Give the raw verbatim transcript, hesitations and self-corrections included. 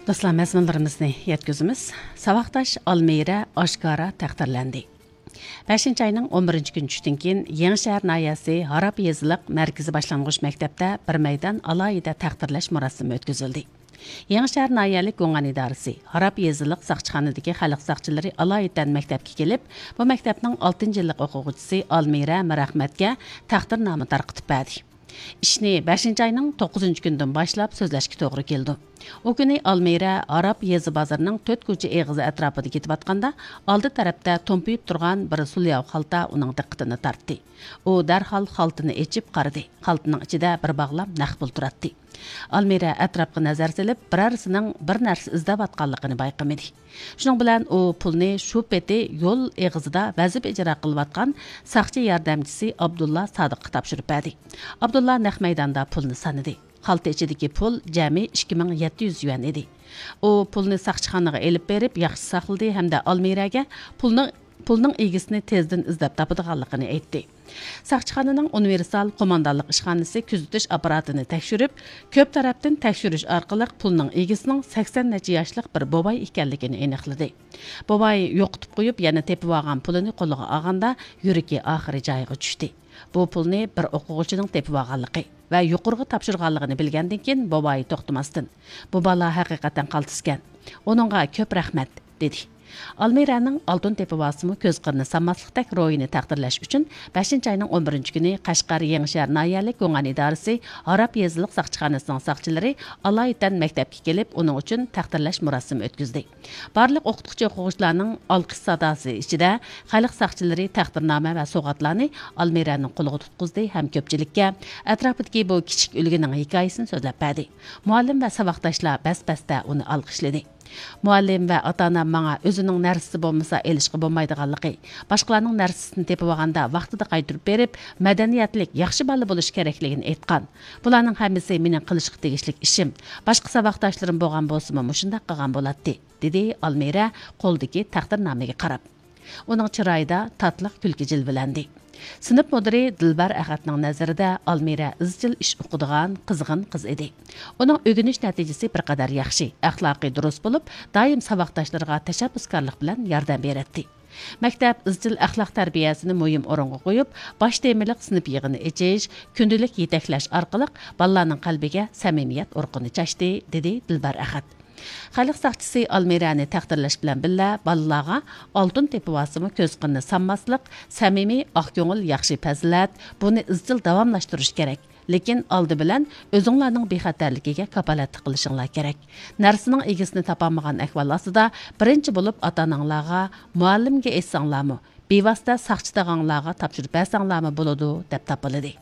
دوستلار، مەزمۇنلىرىمىزنى يەتكۈزىمىز. ساۋاقداش ئالمىرە ئاشكارا تەقدىرلەندى. بەشىنچى ئاينىڭ ئون بىرىنچى كۈنى چۈشتىن كېيىن يېڭىشەھەر ناھىيەسى ھاراب يېزىلىق مەركىزىي باشلانغۇچ مەكتەپتە بىر مەيدان ئالاھىدە تەقدىرلەش مۇراسىمى ئۆتكۈزۈلدى. يېڭىشەھەر ناھىيەلىك گۇڭئەن ئىدارىسى ھاراب يېزىلىق ساقچىخانىدىكى خەلق ساقچىلىرى ئالايىتەن مەكتەپكە كېلىپ، بۇ مەكتەپنىڭ ئالتىنچى يىللىق ئوقۇغۇچىسى ئالمىرە مىرئەخمەتكە تەقدىرنامە تارقىتىپ بەردى. ئىشنى بەشىنچى ئاينىڭ توققۇزىنچى كۈنىدىن باشلاپ سۆزلەشكە توغرا كېلىدۇ. ئۇ كۈنى ئالمىرە ئاراب يېزا بازىرىنىڭ تۆت كوچا ئېغىزى ئەتراپىدا كېتىۋاتقاندا، ئالدى تەرەپتە تومپىيىپ تۇرغان بىر سۇلياۋ خالتا ئۇنىڭ دىققىتىنى تارتتى. ئۇ دەرھال خالتىنى ئېچىپ قارىدى. خالتىنىڭ ئىچىدە بىر باغلام نەق پۇل تۇراتتى. ئالمىرە ئەتراپقا نەزەر سېلىپ، بىرەرسىنىڭ بىر نەرسە ئىزدەۋاتقانلىقىنى بايقىمىدى. شۇنىڭ بىلەن ئۇ پۇلنى شۇ پېتى يول ئېغىزىدا ۋەزىپە ئىجرا قىلىۋاتقان ساقچى ياردەمچىسى ئابدۇللا سادىققا تاپشۇرۇپ بەردى. ئابدۇللا نەق مەيداندا پۇلنى سانىدى. خالتا ئىچىدىكى پۇل جەمئىي ئىككى مىڭ يەتتە يۈز يۈەن ئىدى. ئۇ پۇلنى ساقچىخانىغا ئېلىپ بېرىپ ياخشى ساقلىدى ھەمدە ئالمىرەگە پۇلنىڭ، پۇلنىڭ ئىگىسىنى تېزدىن ئىزدەپ تاپىدىغانلىقىنى ئېيتتى. ساقچىخانىنىڭ ئۇنىۋېرسال قوماندانلىق ئىشخانىسى كۆزىتىش ئاپپاراتىنى تەكشۈرۈپ، كۆپ تەرەپتىن تەكشۈرۈش ئارقىلىق پۇلنىڭ ئىگىسىنىڭ سەكسەن نەچچە ياشلىق بىر بوۋاي ئىكەنلىكىنى ئېنىقلىدى. بوۋاي يوقىتىپ قويۇپ، يەنە تېپىۋالغان پۇلىنى قولىغا ئالغاندا، يۈرىكى ئاخىرى جايىغا چۈشتى. بۇ پۇلنى بىر ئوقۇغۇچىنىڭ تېپىۋالغانلىقى ۋە يۇقىرىغا تاپشۇرغانلىقىنى بىلگەندىن كېيىن، بوۋاي توختىماستىن، «بۇ بالا ھەقىقەتەن قالتىسكەن. ئۇنىڭغا كۆپ رەھمەت» دېدى. ئالمىرەنىڭ ئالتۇن تېپىۋالسىمۇ كۆز قىرىنى سانماسلىقتەك روھىنى تەقدىرلەش ئۈچۈن، بەشىنچى ئاينىڭ ئون بىرىنچى كۈنى قەشقەر يېڭىشەھەر ناھىيەلىك گۇڭئەن ئىدارىسى ھاراب يېزىلىق ساقچىخانىسىنىڭ ساقچىلىرى ئالايىتەن مەكتەپكە كېلىپ، ئۇنىڭ ئۈچۈن تەقدىرلەش مۇراسىمى ئۆتكۈزدى. بارلىق ئوقۇتقۇچى-ئوقۇغۇچىلارنىڭ ئالقىش ساداسى ئىچىدە خەلق ساقچىلىرى تەقدىرنامە ۋە سوۋغاتلارنى ئالمىرەنىڭ قولىغا تۇتقۇزدى ھەم كۆپچىلىككە ئەتراپىدىكى بۇ كىچىك ئۈلگىنىڭ ھېكايىسىنى سۆزلەپ بەردى. مۇئەللىم ۋە ساۋاقداشلار بەس-بەستە ئۇنى ئالقىشلىدى. مۇئەللىم ۋە ئاتا-ئانام ماڭا ئۆزىنىڭ نەرسىسى بولمىسا ئېلىشقا بولمايدىغانلىقى، باشقىلارنىڭ نەرسىسىنى تېپىۋالغاندا ۋاقتىدا قايتۇرۇپ بېرىپ، مەدەنىيەتلىك، ياخشى بالا بولۇش كېرەكلىكىنى ئېيتقان. بۇلارنىڭ ھەممىسى مېنىڭ قىلىشقا تېگىشلىك ئىشىم. باشقا ساۋاقداشلىرىم بولغان بولسىمۇ مۇشۇنداق قىلغان بولاتتى، دېدى ئالمىرە قولىدىكى تەقدىرنامىگە قاراپ. ئۇنىڭ چىرايىدا تاتلىق كۈلكە جىلۋىلەندى. سىنىپ مۇدىرى دىلبەر ئەخەتنىڭ نەزىرىدە ئالمىرە ئىزچىل ئىش ئوقۇيدىغان، قىزغىن قىز ئىدى. ئۇنىڭ ئۆگىنىش نەتىجىسى بىر قەدەر ياخشى، ئەخلاقى دۇرۇس بولۇپ، دائىم ساۋاقداشلىرىغا تەشەببۇسكارلىق بىلەن ياردەم بېرەتتى. مەكتەپ ئىزچىل ئەخلاق تەربىيەسىنى مۇھىم ئورۇنغا قويۇپ، باش تېمىلىق سىنىپ يىغىنى ئېچىش، كۈندىلىك يېتەكلەش ئارقىلىق بالىلارنىڭ قەلبىگە سەمىمىيەت ئۇرۇقىنى چاچتى، دېدى دىلبەر ئەخەت. خەلق ساقچىسى ئالمىرەنى تەقدىرلەش بىلەن بىللە، بالىلارغا ئالتۇن تېپىۋالسىمۇ كۆز قىرىنى سانماسلىق، سەمىمىي، ئاق كۆڭۈل ياخشى پەزىلەت، بۇنى ئىزچىل داۋاملاشتۇرۇش كېرەك. لېكىن ئالدى بىلەن ئۆزۈڭلارنىڭ بىخەتەرلىكىگە كاپالەتلىك قىلىشىڭلار كېرەك. نەرسىنىڭ ئىگىسىنى تاپالمىغان ئەھۋال ئاستىدا، بىرىنچى بولۇپ ئاتا-ئاناڭلارغا، مۇئەللىمگە ئېيتساڭلارمۇ، بىۋاسىتە ساقچى تاغاڭلارغا تاپشۇرۇپ بەرسەڭلارمۇ بولىدۇ، دەپ تاپىلىدى.